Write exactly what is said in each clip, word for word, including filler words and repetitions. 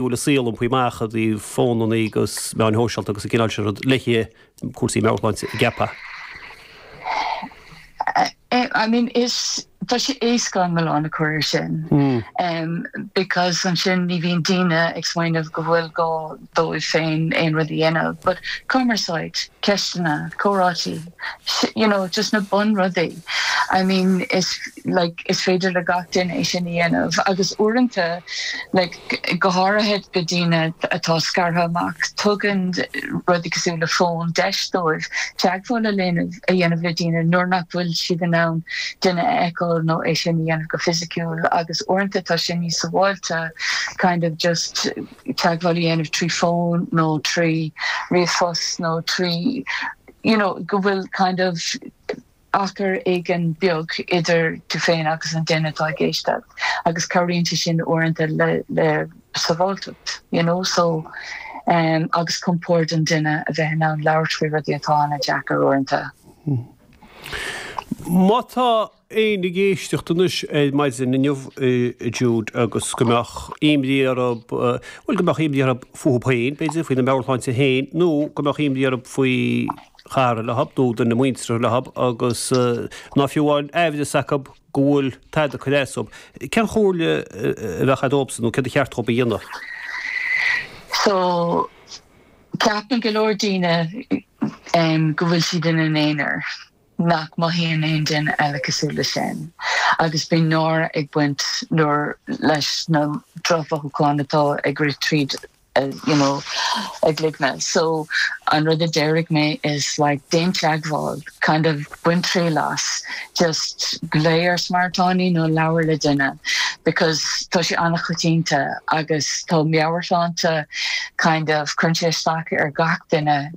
bhfuil an saol iompaithe amach i dtaobh fónannaí agus meáin shóisialta agus an cineál sin rud le cúrsaí meabhairshláinte an gceapfá. I mean is tá sé éasca an milleán a chur air sin um, because ansin ní bhíonn daoine ag smaoineamh go bhfuil gá dóibh féin aon rud a dhéanamh, but cumarsáid, ceisteanna, comhráití, you know, just na bunrudaí. I mean is like is féidir le gach duine é sin a dhéanamh agus uaireanta like go háirithe go daoine atá scartha amach tugann rudaí cosúil le fón deis dóibh teagmháil a dhéanamh a dhéanamh le daoine nuair nach bhfuil siad in ann duine a fheiceáil nó é sin a dhéanamh go fisiciúil agus uaireanta tá sin níos sábháilte kind of just teagmháil a dhéanamh trí fón nó trí ríomhphost nó trí you know go bhfuil kind of achar éigin beag idir tú féin agus an duine atá ag éisteacht agus cabhraíonn sé sin uaireanta le le sábháilteacht you know so um, agus compord an duine a bheith in ann labhairt faoi rudaí atá an-deacair uaireanta. Má tá éinne ag éisteacht anois ar maidin inniu Jude agus go mbeadh imní orthu bhuel go mbeadh imní orthu fúthu féin, b'fhéidir faoina meabhairshláinte féin nó go mbeadh imní orthu faoi chara leo nó duine muinteartha leo agus ná fiú amháin aimhreas acu go bhfuil tada ag cur as dóibh. Cén chomhairle a bheadh agat dóibhsan nó céard ba cheart dóibh a dhéanamh? So ceapann go leor daoine um, go bhfuil siad ina n-aonar. nach mothaíonn aon duine eile cosúil le sin. Agus bíonn náire ag baint nuair leis na drochmhothúcháin atá ag rith tríd uh, you know, a gcloigne. So an rud a déarfaidh mé is like déan teagmháil, kind of bain triail as, just glaoigh ar Samaritánaigh nó labhair le duine, because tá sé an-choitianta agus tá meabhairshláinte kind of cuireann sé isteach ar gach duine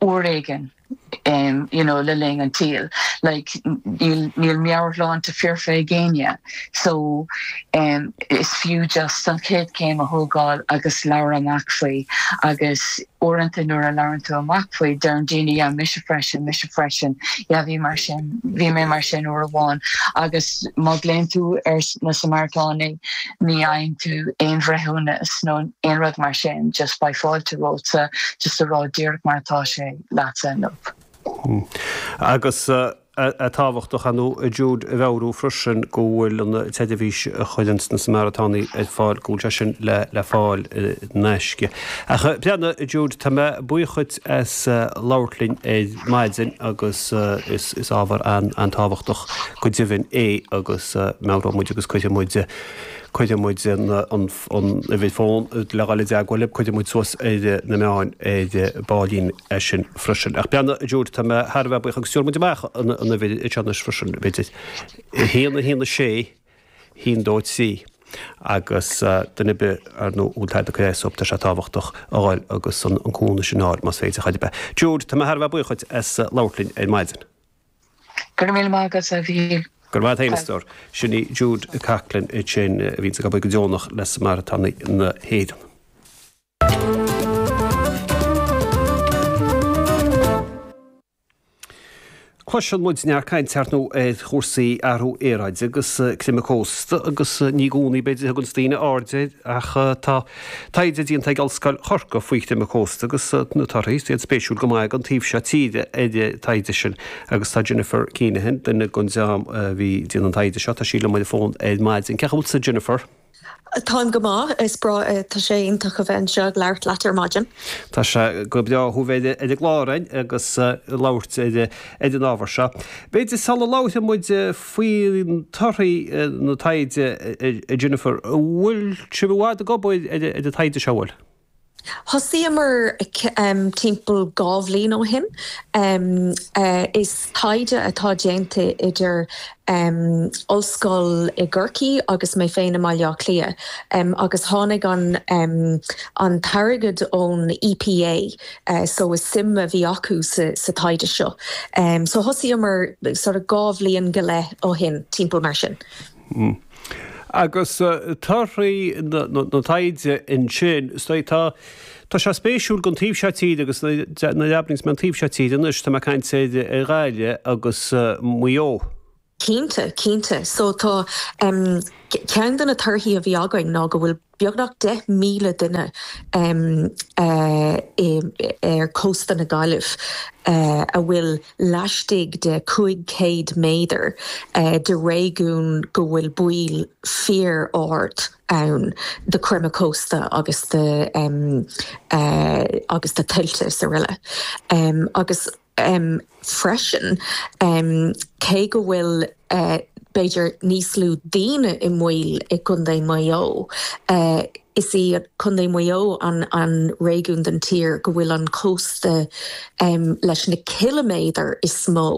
uair éigin um, you know, le linn an tsaoil. Like níl níl meabhairshláinte foirfe ag éinne. So um, is fiú just an chéad chéim a thógáil agus labhairt amach faoi agus uaireanta nuair a labhrann tú amach faoi deireann daoine yeah, mise freisin, mise freisin, yeah, bhí mar sin, bhí mé mar sin uair amháin agus má ghlaonn tú ar na Samaritánaigh ní fhaigheann tú aon bhreithiúnas nó aon rud mar sin, just beidh fáilte romhat just a rá díreach mar atá sé leatsa inniu. Agus tábhachtach ar ndóigh Jude a mheabhrú freisin go bhfuil an tseirbhís a chuireann na Samaritánaigh ar fáil go bhfuil sé sin le le fáil in aisce. Ach breathnaigh Jude tá mé buíoch díot as labhairt linn ar maidin agus is is ábhar an an-tábhachtach go deimhin é agus meabhróidh muid agus cuirfidh muid cuirfidh muid an an uimhir fón le dhul i dteagmháil libh, cuirfidh muid suas ar na meáin ar baillín é sin freisin. Ach breathnaigh Jude tá mé thar a bheith buíoch agus tabharfaidh muid amach an an uimhir anseo anois freisin b'fhéidir. A haon a haon a sé haon dó trí agus duine ar bith ar ndóigh a bhfuil tada ag cur as dóibh tá sé tábhachtach a dhul agus an an cúnamh sin a fháil más féidir chor ar bith. Jude tá mé thar a bheith buíoch díot as labhairt linn ar maidin. Go raibh míle maith agat a Mhíchíl. Go raibh maith agat a stór. Sin í Jude Coughlan sin a bhíonn ag obair go deonach le Samaritánaigh na hÉireann. Cloiseann muid neart cainte ar ndóigh ar chúrsaí athrú aeráide agus creimeadh cósta agus ní i gcónaí b'fhéidir a thuganns daoine aird air ach tá taighde déanta ag Ollscoil Chorcaí faoi chreimeadh cósta agus na torthaí iad spéisiúil go maith don taobh seo tíre ar an taighde sin agus tá Jennifer Keenahan duine den dream a bhí ag déanamh an taighde seo tá sí liom ar an bhfón ar maidin. Cén chaoi a bhfuil tusa Jennifer? Táim go maith is breá tá sé iontach a bheith anseo ag labhairt leat ar maidin. Tá sé go breá thú bheith ar an gclár againn agus labhairt ar ar an ábhar seo. B'fhéidir sula labhraíonn muid faoi torthaí na taighde a Jennifer, bhfuil sibh i bhfad ag obair ar an taighde seo bhfuil? Thosaíomar timpeall dhá bhliain ó shin. Is taighde atá déanta idir ollscoil i gCorcaigh agus mé féin i mBaile Átha Cliath agus tháinig an an t-airgead ón EPA so is suim a bhí acu sa sa taighde seo. So thosaíomar sort of dhá bhliain go leith ó shin timpeall mar sin. Agus torthaí na taighde ansin tá Tá sé spéisiúil don taobh seo tíre agus nuair a abraíonns mé an taobh seo tíre anois tá mé ag caint ar Ghaillimh agus Maigh Eo. Cinnte, cinnte. So tá um, ceann de na torthaí a bhí againn ná go bhfuil beagnach deich míle duine um, uh, ar cósta na Gaillimh uh, a bhfuil laistigh de cúig chéad méadar uh, de réigiún go bhfuil baol fíor-ard ann de creimeadh cósta agus de um, uh, agus de tuilte is araile. Um, agus um, freisin um, cé go bhfuil uh, b'fhéidir níos lú daoine i mbaol i gContae Mhaigh Eo. Uh, is í Contae Mhaigh Eo an, an réigiún den tír go bhfuil an cósta um, leis na ciliméadair is mó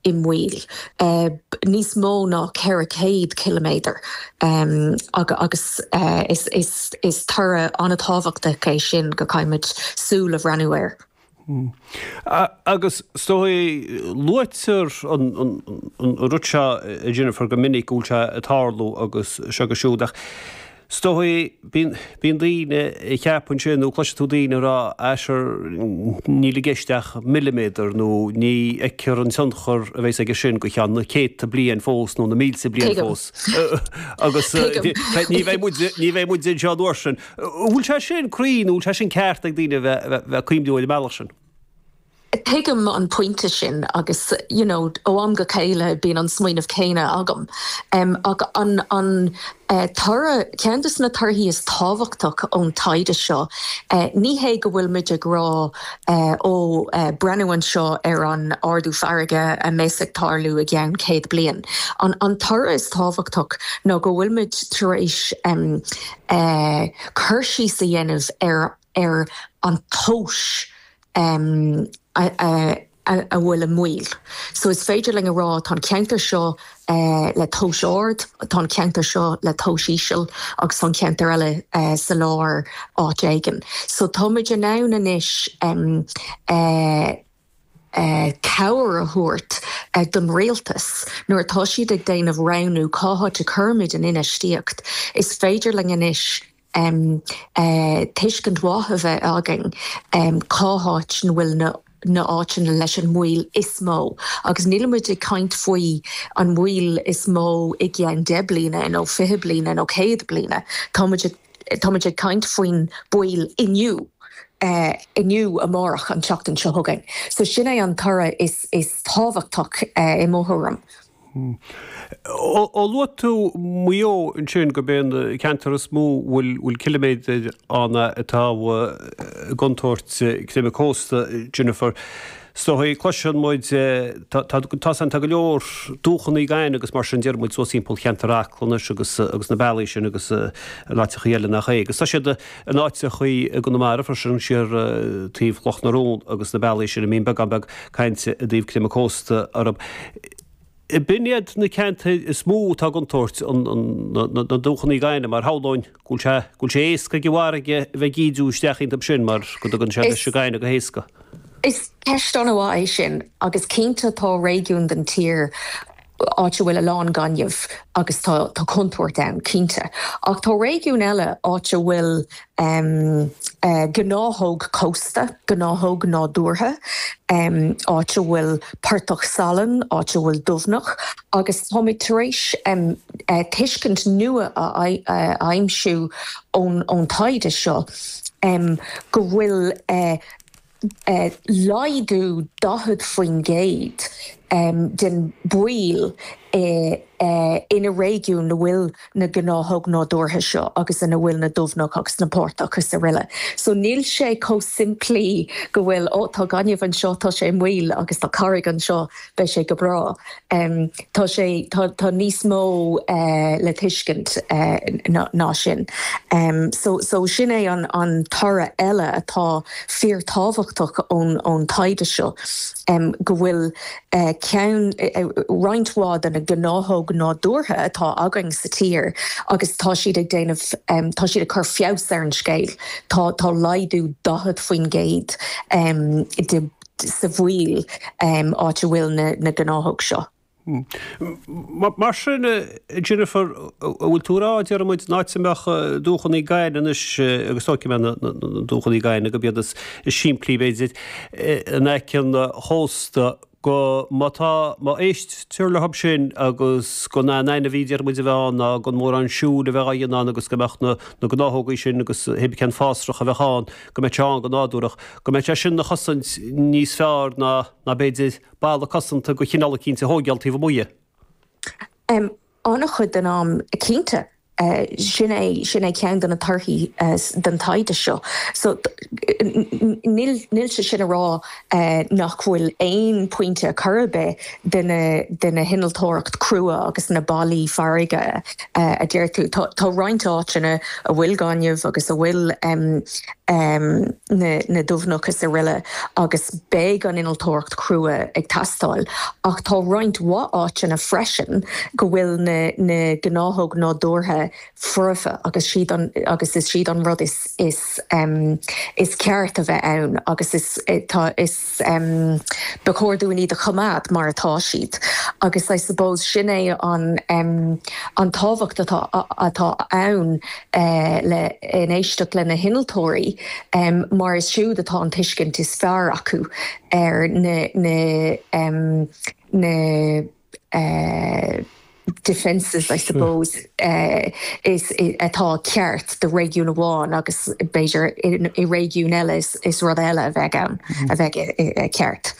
i mbaol. Uh, níos mó ná ceithre chéad ciliméadar um, agus uh, is, is, is toradh an-tábhachtach é sin go gcaithfimid súil a bhreathnú air. Hmm. Agus is dóigh luaitear an rud seo Jennifer go minic go bhfuil sé ag tarlú agus seo agus siúd ach is dóigh bíonn daoine ag ceapadh ansin nó cloiseann tú daoine ag rá á sure níl i gceist ach milliméadar nó ní fheicfear an tionchar a bheas aige sin go ceann na céadta bliain fós nó na mílte bliain fós. Agus ní bheidh muid ní bheidh muid anseo an uair sin. Bhfuil sé sin cruinn nó bhfuil sé sin ceart ag daoine bheith bheith cuimhniú ar an mbealach sin? Tuigim an pointe sin agus you know, ó am go chéile bíonn an smaoineamh céanna agam. Um, ach an, an uh, toradh ceann de na torthaí is tábhachtach ón taighde seo. Uh, ní hé go bhfuil muid ag rá uh, ó uh, breathnú anseo ar an ardú farraige a bheas ag tarlú i gceann céad bliain. An, an toradh is tábhachtach ná go bhfuil muid tar éis um, uh, cur síos a dhéanamh ar ar an tomhas um, a, a, a, a bhfuil i mbaol. So is féidir linn a rá tá an ceantar seo uh, le tomhas ard, tá an ceantar seo le tomhas íseal agus tá an ceantar eile uh, sa lár áit éigin. So táimid in ann anois um, uh, Uh, cabhair a thabhairt uh, don rialtas nuair atá siad ag déanamh roghnú cá háit a chuirfimid an infheistíocht. Is féidir linn anois um, uh, tuiscint mhaith a bheith againn um, cá háit an bhfuil na na áiteanna leis an mbaol is mó. Agus nílimid ag caint faoi an mbaol is mó i gceann deich mbliana nó fiche bliana nó céad bliana. Táimid táimid ag caint faoin baol inniu. Uh, inniu amárach an tseachtain seo chugainn. So sin é an toradh is, is tábhachtach uh, i mo thuairim. Hmm. Ó luaigh tú Maigh Eo ansin gurb é an ceantar is mó bhfuil bhfuil ciliméadar ann atá i gcontúirt creimeadh cósta Jennifer. Is dóigh cloiseann muid tá tá go leor dumhchanna gainimh agus mar sin deir muid suas timpeall cheantar Acla anois agus agus na bealaí sin agus in áiteacha eile nach é. Agus tá siad in áiteacha i gConamara freisin siar taobh Chloch na Rón agus na bealaí sin a mbíonn beagán beag cainte i dtaobh creimeadh cósta orthu. B'in iad na ceantair is mó atá i gcontúirt na dumhchanna gainimh mar shamhlóinn go bhfuil sé éasca ag an bhfarraige bheith ag ídiú isteach iontu sin mar go dtugann sé leis an gaineamh go héasca. Is ceist an-mhaith é sin agus cinnte tá réigiún den tír áit a bhfuil a lán gainimh agus tá tá contúirt ann cinnte. Ach tá réigiún eile áit a bhfuil um, uh, gnáthóg cósta, gnáthóg nádúrtha, um, áit a bhfuil portach salainn, áit a bhfuil dumhach, agus táimid tar éis um, uh, tuiscint nua a, a, a aimsiú ón, ón taighde seo um, go bhfuil uh, uh, laghdú daichead faoin gcéad um, den baol uh, uh, ina réigiún na bhfuil na gnáthóg nádúrtha seo agus ina bhfuil na dumhach agus na portach agus araile. So níl sé chomh simplí go bhfuil ó tá gaineamh anseo tá sé i mbaol agus tá carraig anseo beidh sé go breá. Um, tá sé tá, tá níos mó uh, le tuiscint uh, ná, ná sin. Um, so, so sin é an, an toradh eile atá fíorthábhachtach ón, ón taighde seo um, go bhfuil uh, ceann uh, roinnt mhaith de na gnáthóg nádúrtha atá againn sa tír agus tá siad ag déanamh um, tá siad ag cur feabhas ar an scéal. Tá tá laghdú daichead faoin gcéad um, de, sa bhaol um, áit a bhfuil na, na gnáthóg seo. Hmm. Mar sin Jennifer bhfuil tú ag rá deir muid an áit a mbeadh dumhchanna gainimh anois agus tógfaidh mé na dumhchanna gainimh gurb iad is simplí b'fhéidir in aice an chósta go má tá má éistear leo sin agus gan aon ainmhí déarfaidh muid a bheith ann ná gan mórán siúil a bheith á dhéanamh ann agus go mbeadh na na gnáthógaí sin agus hébrí cén fásrach a bheadh ann go mbeadh sé ann go nádúrach go mbeadh sé sin ina chosaint níos fearr ná ná b'fhéidir balla cosanta de chineál eicínt a thógáil taobh amuigh. An-chuid den am cinnte. Sin é sin é ceann de na torthaí den taighde seo. So níl níl sé sin a rá nach bhfuil aon pointe chor ar bith de na de na hinnealtóireacht crua agus na ballaí farraige a deir tú. Tá tá roinnt áiteanna a bhfuil gaineamh agus a bhfuil na na dumhcha is araile agus beidh an innealtóireacht crua ag teastáil ach tá roinnt mhaith áiteanna freisin go bhfuil na na gnáthóg nádúrtha foirfe agus siad an agus is siad an rud is is um, is ceart a bheith ann agus is tá is um, ba chóir dúinn iad a choimeád mar atá siad agus I suppose sin é an um, an tábhacht atá atá ann uh, le in éisteacht le na hinnealtóirí um, mar is siúd atá an tuiscint is fearr acu ar na na um, na uh, defences I suppose uh, is atá ceart do réigiún amháin agus b'fhéidir i réigiún eile is, is rud eile a bheith ann a bheith ceart.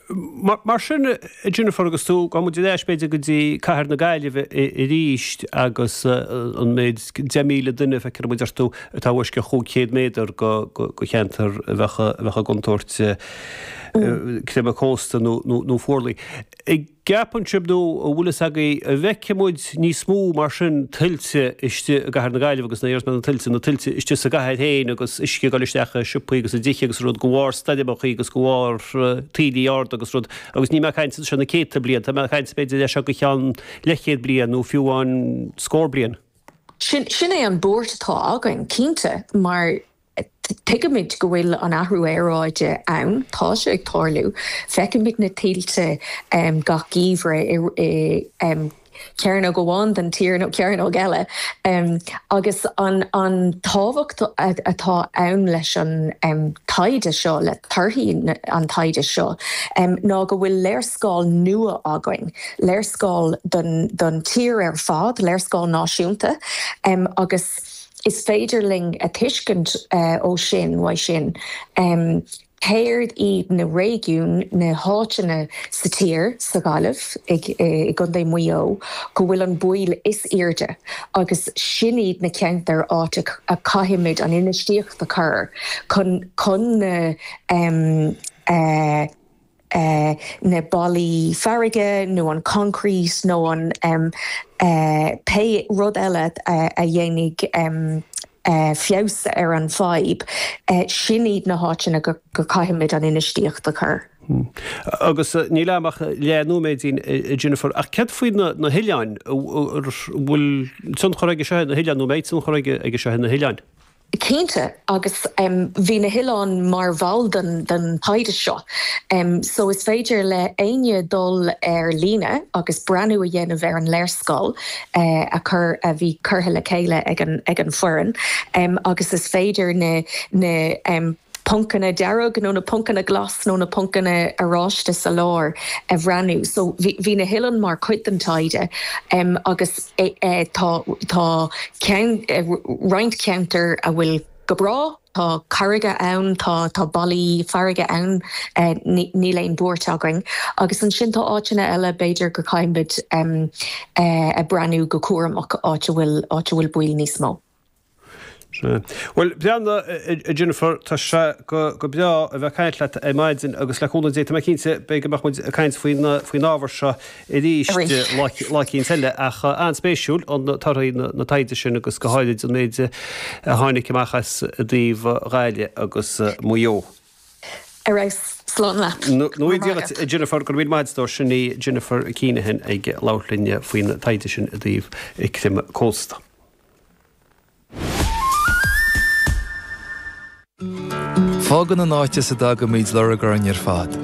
Mar sin Jennifer agus tú go muid leis b'fhéidir go dtí cathair na Gaillimhe arís agus an méid deich míle duine feictear muid orthu atá uisce chúig chéad méadar go cheantar a bheadh i gcontúirt creimeadh cósta nó fuarlaigh. Gceapann sibh nó an bhfuil fhios agaibh an bhfeicfidh muid níos mó mar sin tuilte istigh i gcathair na Gaillimhe agus na na tuilte na tuilte istigh sa gcathair féin agus uisce ag dul isteach i siopaí agus i dtithe agus rud de bharr stoirmeacha agus de bharr taoillí arda agus rud agus níl mé ag caint anseo na céadta bliain tá mé ag caint b'fhéidir leis seo go ceann leathchéad bliain nó fiú amháin scór bliain. Sin sin é an buairt atá againn cinnte mar Tuigimid go bhfuil an athrú aeráide ann, tá sé ag tarlú. Feicimid na tuilte gach geimhreadh i cearnóg amháin den tír nó cearnóg eile. Agus an an tábhacht atá ann leis an taighde seo, le torthaí an taighde seo, ná go bhfuil léarscáil nua againn, léarscáil don don tír ar fad, léarscáil náisiúnta agus Is féidir linn a tuiscint ó sin, uaidh sin, céard iad na réigiúin, na háiteanna sa tír, sa Ghaillimh, i gContae Mhaigh Eo, go bhfuil an baol is airde agus sin iad na ceantair áit a caithfimid an infheistíocht a chur chun chun na na ballaí farraige nó an concrete nó an pé rud eile a dhéanfaidh feabhas ar an bhfadhb, sin iad na háiteanna go gcaithfimid an infheistíocht a chur. Agus níl agam ach leath nóiméidín, Jennifer, ach céard faoi na hoileáin? An bhfuil tionchar aige seo ar na hoileáin nó an mbeidh tionchar aige seo ar na hoileáin? Cinnte, agus bhí na hoileáin mar bhall den den taighde seo. So is féidir le éinne dul ar líne agus breathnú a dhéanamh ar an léarscáil a chur a bhí curtha le chéile ag an ag an foireann agus is féidir na na poncanna dearg nó na poncanna glas nó na poncanna oráiste sa lár a bhreathnú. So bhí na hoileáin mar chuid den taighde agus tá tá ceann roinnt ceantar a bhfuil go breá, tá carraige ann, tá tá ballaí farraige ann, níl aon buairt againn. Agus ansin tá áiteanna eile b'fhéidir go caithfimid a breathnú go cúramach áit a bhfuil áit a bhfuil baol níos mó. Bhuel, breathnaigh, a Jennifer, tá sé go breá a bheith ag caint leat ar maidin agus le cúnamh Dé, tá mé cinnte, beidh go mbeadh muid ag caint faoin ábhar seo arís lá eicínt eile. Ach an-spéisiúil an torthaí na taighde sin agus go háirid an méid a tháinig amach as i dtaobh Ghaillimh agus Maigh Eo. Ar fheabhas, slán leat. Go raibh míle maith agat, a Jennifer, go raibh míle maith agat, sin í Jennifer Keenahan ag labhairt linn faoin taighde sin i dtaobh creimeadh cósta. Fágann an áit as a dtagaimid lorg orainn ar fad.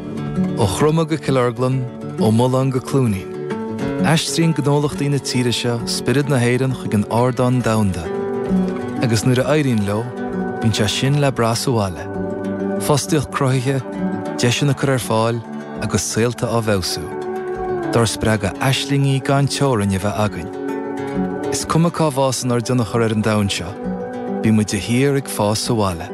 Ó Chromtha go Cill Orglan, ó Mullán go Cluainín. Aistríonn gnólachtaí na tíre seo spiorad na hÉireann chuig an ardán domhanda. Agus nuair a éiríonn leo, bíonn sé sin le brath sa bhaile. Fostaíocht cruthaithe, deiseanna curtha ar fáil, agus saolta á bhfeabhsú. Dár spreagadh aislingí gan teorainn a bheith againn. Is cuma cá bhfásann ár dtionchar ar an domhan seo, bíonn muid de shíor ag fás abhaile.